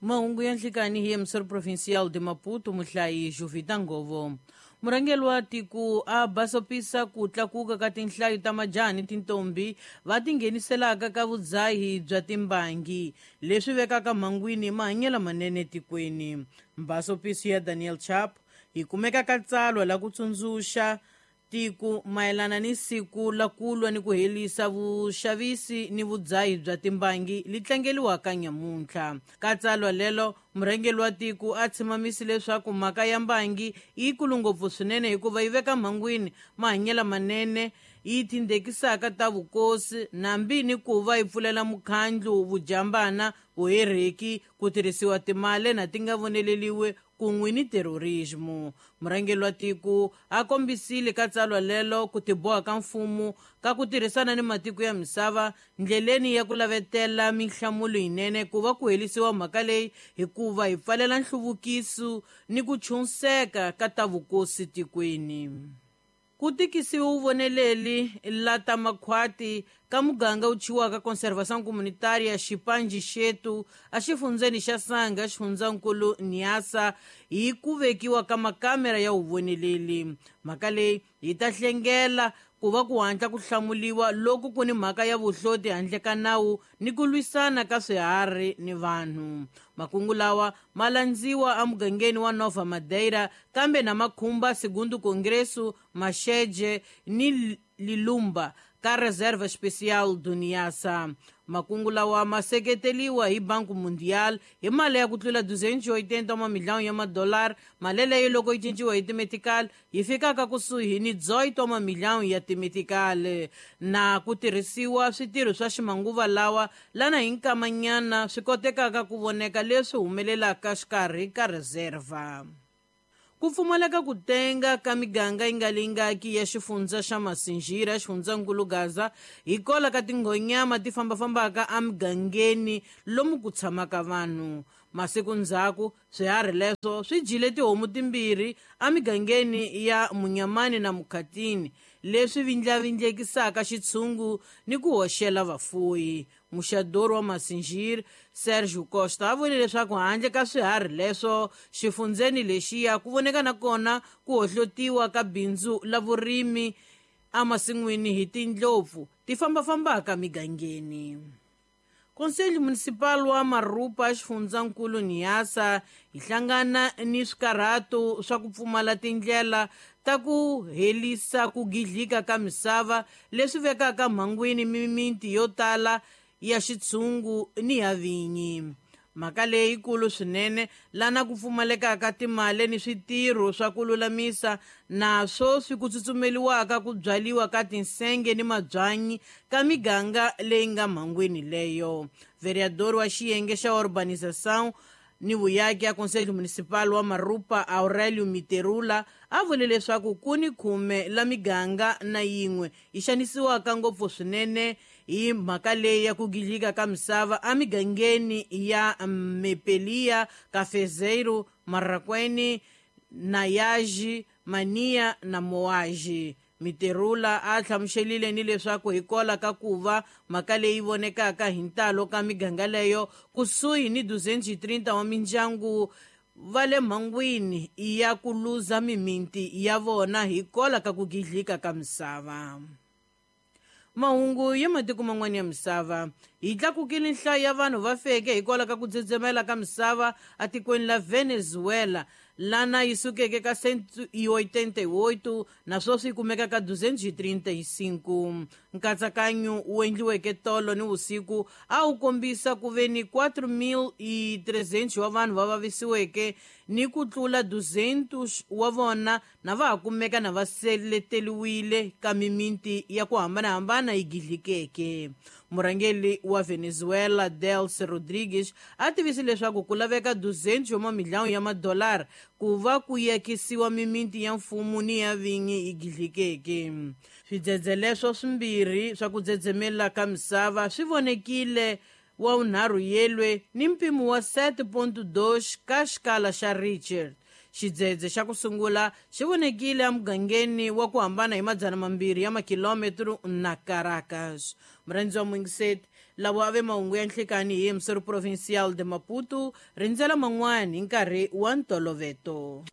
Mahungu ya nhlikani hi emissor provincial de Maputo, muhlayi Jovita Ngovo. Murhangeri wa tiko a basopisa ku tlakuka ka tinhlayo ta majaha ni tintombi va tingheniselaka ka vudzahi bya timbangi, leswi vekaka mhangwini mahanyelo manene tikweni. Mbasopiso ya Daniel Chapo yi kumeka ka tsalwa la ku tsundzuxa tiko mayelana ni siku la ku lwa ni ku herisa vuxavisi ni vudzahi bya timbangi li tlangeliwaka nyamuntlha. Ka tsalwa lelo, murhangeri wa tiko a tshimamise leswaku mhaka ya mbangi yi yikulu ngopfu swinene hikuva yi veka mhangwini mahanyelo manene, yi tindekisaka ta vukosi nambi ni ku va yi pfulela mukhandlu vujambana, vuherheki, ku tirhisiwa timali na ti nga voneleliwi kun'we ni terorismo. Murhangeri wa tiko a kombisile ka tsalwa lelo ku tiboha ka mfumo ka ku tirhisana ni matiko ya misava ndleleni ya ku lavetela minhlamulo yinene ku va ku herisiwa mhaka leyi, hikuva hi pfalela nhluvukiso ni ku chunseka ka ta vukosi tikweni. Ku tikisiwe vuvoneleli la ta makhwati ka muganga wu thyiwaka Conservação Comunitária Xipanji Xetu exifundzeni xa Sanga, xifundzankulu Niassa, hi ku vekiwa ka makamera ya vuvoneleli. Mhaka leyi yi ta hlengela ku va ku hatla ku hlamuliwa loko ku ni mhaka ya vuhloti handle ka nawu ni ku lwisana ka swiharhi ni vanhu. Makungu lawa ma landziwa emugangeni wa Nova Madeira, kambe na makhumba Segundo Congresso, Maxeje ni Lilumba ka Reserva Especial do Niassa. Makungu lawa ma seketeliwa hi Banco Mundial hi mali ya ku tlula 280 wa mamiliyoni ya madolari. Mali leyi loko yi cinciwa hi timetical yi fikaka kusuhi ni 18 wa mamiliyoni ya timetical, na ku tirhisiwa switirho swa ximanguva lawa lana hi nkamanyana swi kotekaka ku voneka leswi humelelaka xikarhi ka reserva. Ku pfumaleka ku tenga ka miganga yi nga lingaki ya xifundza xa Masinjira, xifundzankulu Gaza, hikola ka tinghonyama ti fambafambaka emigangeni lomu ku tshamaka vanhu. Masiku ndzhaku, swiharhi leswo swi dyile tihomu timbirhi emigangeni ya Munyamani na Mukhatini, leswi vindlavindlekisaka xitshungu ni ku hoxela vafuyi. Muxadori wa Masinjiri, Sergio Costa, a vule leswaku handle ka swiharhi leswo xifundzeni lexiya ku voneka na kona ku hohlotiwa ka bindzu la vurimi emasin'wini hi tindlopfu ti fambafambaka migangeni. Conselho Municipal wa Marupa, xifundzankulu Niassa, yi hlangana ni swikarhato swa ku pfumala tindlela ta ku herisa ku gidlika ka misava leswi vekaka mhangwini mimiti yo tala ya xitshungu ni ya vinyi. Mhaka leyikulu swinene lana ku pfumalekaka timali ni switirho swa ku lulamisa naswo swi ku tsutsumeliwaka ku byaliwa ka tinsenge ni mabyanyi ka miganga leyi nga mhangwini leyo. Vereador wa xiyenge xa Urbanização ni vuyaki ya Conselho Municipal wa Marupa, Aurélio Miterula, a vule leswaku ku ni 10 la miganga na yin'we yi xanisiwaka ngopfu swinene hi mhaka leyi ya ku gidlika ka misava emigangeni ya Mepelia, Cafezeiro, Marraquene, Nayaji, Mania na Moaji. Miterula a hlamuselile ni leswaku hikola ka ku va mhaka leyi vonekaka hi ntalo ka miganga leyo kusuhi ni 230 wa mindyangu va le mhangwini ya ku luza mimiti ya vona hikola ka ku gidlika ka misava. Mahungu ya matiko man'wana ya misava. Yi tlakukile nhlayo ya vanhu va feke hikwalaho ka ku dzedzemela ka misava etikweni la Venezuela, lana yi sukeke ka 188 naswona yi kumeka ka 235. Nkatsakanyo wu endliweke tolo ni vusiku a wu kombisa ku ve ni 4300 wa vanhu va vavisiweke ni ku tlula 200 wa vona na va ha kumeka na va seleteriwile ka mimiti ya ku hambanahambana yi gidlikeke. Murhangeri wa Venezuela Delcy Rodriguez a tivise leswaku ku laveka 200 wa mamiliyoni ya madolara ku va ku yakisiwa mimiti ya mfumo ni ya vinyi yi gidlikeke. Swidzedze leswo swimbirhi swa ku dzedzemela ka misava swi vonekile wa vunharhu yelwe ni mpimo wa 7.2 ka xikala xa Richter. Xidzedze xa ku sungula xi vonekile emugangeni wa ku hambana hi 200 ya makilometro na Caracas. Murhandzi wa Mungiseti, Lavo ave mahungu ya nhlikani hi Emissor Provincial de Maputo, rindzela man'wani hi nkarhi wa ntoloveto.